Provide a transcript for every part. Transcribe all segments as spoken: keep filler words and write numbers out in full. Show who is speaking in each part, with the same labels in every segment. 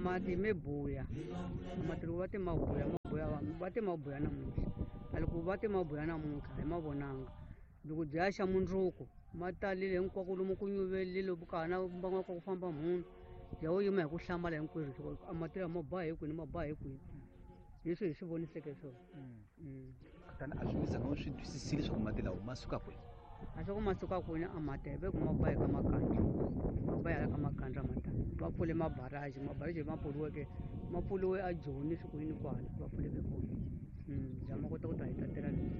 Speaker 1: Mati me buya mati loko va te mabuya mabuya va te mabuya namuntlha a loko va te mabuya namuntlha hi ma vonanga loko byi ya xa mundzuku ma talile hinkwako lomu ku nyuvelile ka ha na mbangu ka ku famba munhu ya wo yima hi ku hlamala hinkwerhu a mati lama ma ba hi kwini ma ba hi kwini leswi hi swi voniseke swona.
Speaker 2: Kutani a swi mi zanga swi twisisile leswaku mati lawa ma suka kwini?
Speaker 1: A swa ku ma suka kwini a mati ve ku ma ba hi ka makandza ma ba hala ka makandza matani va pfule mabaraji mabaraji ma pfuriweke ma pfuriwe a Joni swi ku yini kwala va pfuleke kona bya ma kota ku ta hi tatela lomu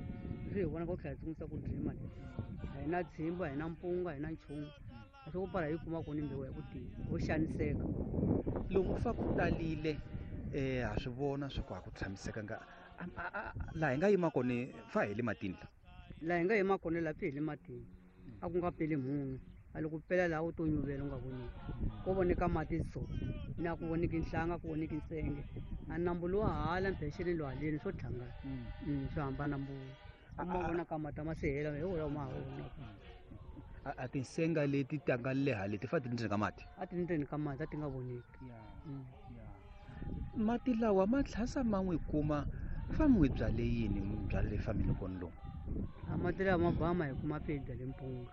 Speaker 1: leswi hi vonaka ku tlhela hi sungulisa ku drima leswi a hi na tshimba a hi na mpunga a hi na nchumu a swi ku para hi yi kuma kuni mbewu ya ku tiya ho xaniseka.
Speaker 2: Lomu fa ku talile um ha swi vona swa ku a ku tshamisekanga laha hi nga yima kona fa hi le matini la
Speaker 1: laha hi nga yima kona laha hi le matini a ku nga peli munhu a loko pela laha u to nyuvela u nga voneki ko voneka mati so na ku voneki nhlanga ku voneki nsenge a nambu lowa hala mpexeni lowa haleni swo tlhangana swo hambana mbulo u ma vonaka mati a ma se hela hi wona ma ha vonaka.
Speaker 2: A tinsenga leti ta nga leha leti fa ti ndzeni ka mati
Speaker 1: a ti ndzeni ka mati a ti nga voneki.
Speaker 2: Mati lawa ma tlhasa ma n'wi kuma fa mi n'wi byale yini mi byale famini kona lomu?
Speaker 1: A mati lawa ma ba ma hi kuma pe hi byale mpunga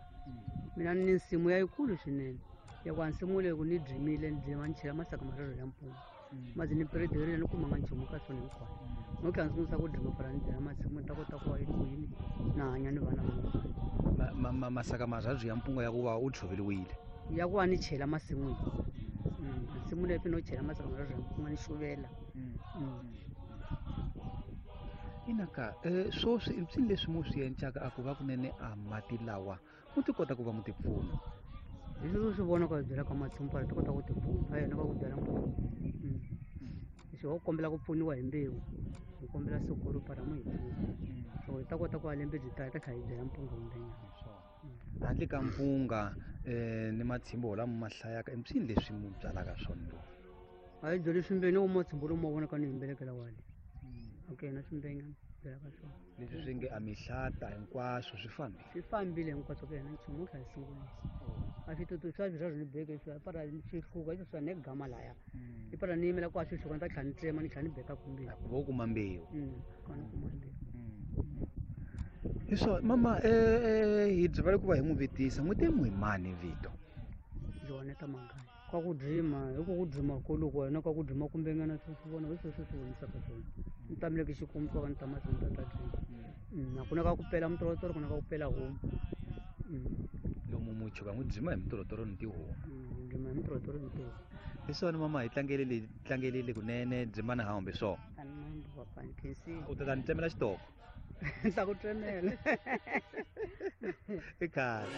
Speaker 1: mina ni nsimu ya yikulu swinene ya ku a nsimu leyi ku ni dyimile ni dyima ni chela masaka marharhu ya mpunga mazi ni piredirile ni kumanga nchumu ka swona hinkwaswo no tlhela ni sungulisa ku dyima para ni byala masimu ni ta kota ku va yi ku yini na hanya ni vana va
Speaker 2: mina. Masaka marharhu ya mpunga ya ku va u tshoveriwile
Speaker 1: ya ku va ni chela masin'wini nsimu leyi no chela masaka marharhu ya mpunga ni xuvela.
Speaker 2: Inaka um swoswi i mpsini leswi mu swi endlaka a ku va kunene a mati lawa mu ti kota ku va mu ti pfuna?
Speaker 1: Hi leswi swi vonaka hi byela ka masimu para ti kota ku ti pfuna a yena va ku byala mpunga leswi ho kombela ku pfuniwa hi mbewu hi kombela sukuru para mu hi pfuna so hi ta kota ku va lembe byi ta hi ta tlhela hi byala mpunga wumbenyana.
Speaker 2: Handle ka mpunga um ni matshimbo lama ma hlayaka i mpsini leswi mu byalaka swona lowu?
Speaker 1: A hi byali swimbeni u matshimbo lomu ma vonaka ni yimbelekela wale okay na swimbenyana byalaka swona
Speaker 2: leswi swi nge a mihlata hinkwaswo swi fambile
Speaker 1: swi fambile hinkwaswo ku yena nchumu wu tlhela hi sungulisa a switutu swa swirharhu ni beke swi para swi hluka leswi swa ne gama laya i para ni yimela ku a swi hluka ni ta tlhela ni tsema ni tlhela ni beka kumbirhi
Speaker 2: ku va u kuma mbewu
Speaker 1: kona kuma mbewu.
Speaker 2: Hi swona mama um hi byivale ku va hi n'wi vutisa n'wi te n'wi mani vito?
Speaker 1: Joneta Mangaya ka ku drima hi ku ku drima koloku wena ka ku drima kumbenyana swi swi vona hi sweswo swi vonisaka swona ni tamile ki xikombiso ka ni ta mahlweni ta ta drima a ku na ka ku pela mitorotoro ku na ka ku pela homu
Speaker 2: lomu muchuka n'wi drima hi mitorotoro ni tihomu
Speaker 1: drima hi mitorotoro ni tihomu.
Speaker 2: Hi swona mama hi tlangelele tlangelele kunene dzimana hambi swona u ta ta ni tsemela xitoko
Speaker 1: ni ta ku tsemela
Speaker 2: i khale.